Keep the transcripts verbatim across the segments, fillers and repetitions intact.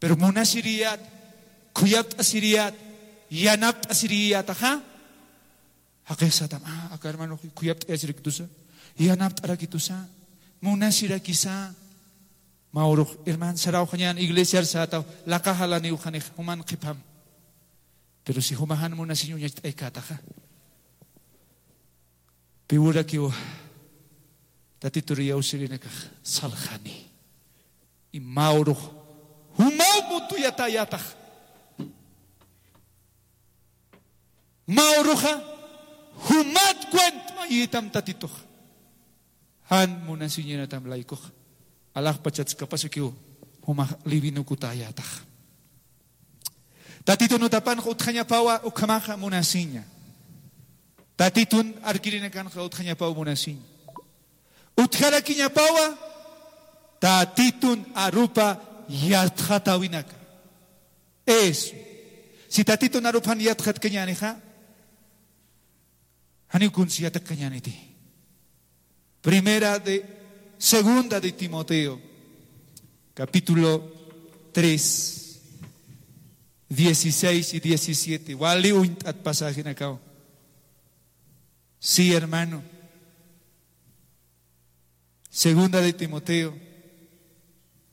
Pero munasiriyät, khuyapt'asiriyät, yanapt'asiriyätaxa. Jaqix satam, ah, aka hermano khuyapt'ayasirakitusa, yanapt'arakitusa, munasirakisa. Mä urux, hermano, sarawxañän iglesiar sätaw, laqha jalaniw qhanix, juman qhipam. Pero si juma jan munasiñ uñacht'aykätaxa, pï urakiw Tatitur iyawsïrinakax salxani. Y mä urux, jumaw mutuyatäyätax. Mä uruxa, jumat cuentmayitam Tatitux. Jan munasiñätam laykuxa. Alaxpachats kapasukiw, jumax livinukutäyätax. Tatitun utapanxa utjañapawa ukhamaxa munasiña. Tatitun arkirinakanxa utjañapaw munasiña. Utjarakiñapawa, Tatitun arupa yatxatäwinaka. Eso. Si Tatitun arupan yatxatkañänixa, janiw kuns yatiqkañäniti. Primera de, segunda de Timoteo, capítulo tres, dieciséis y diecisiete. Wali uñt'at pasajenakaw. Sí, hermano. Segunda de Timoteo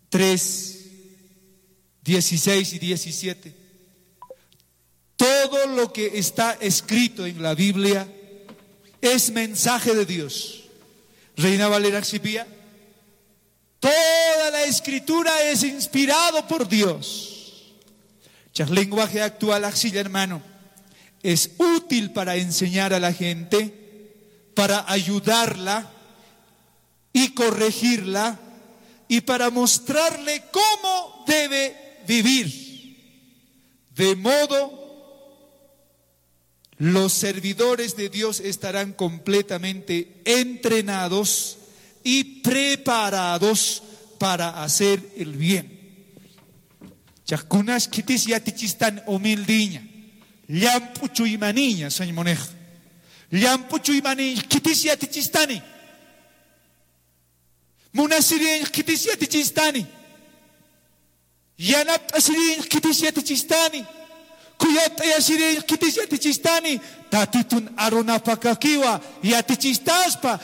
tres, dieciséis y diecisiete. Todo lo que está escrito en la Biblia es mensaje de Dios. Reina Valera sipïya. Toda la escritura es inspirado por Dios. Chax lenguaje actual axilla, hermano. Es útil para enseñar a la gente, para ayudarla y corregirla y para mostrarle cómo debe vivir. De modo, los servidores de Dios estarán completamente entrenados y preparados para hacer el bien. Chax kunas khitis yatichistani humildiña, llamp'u chuymaniña, sañ munix. Llamp'u chuymaniñ khitis yatichistani. Munasiriñ khitis yatichistani. Yanapt'asiriñ khitis yatichistani. Khuyapt'ayasiri khitis yatichistani, Tatitun arunapakakiwa yatichistaspa,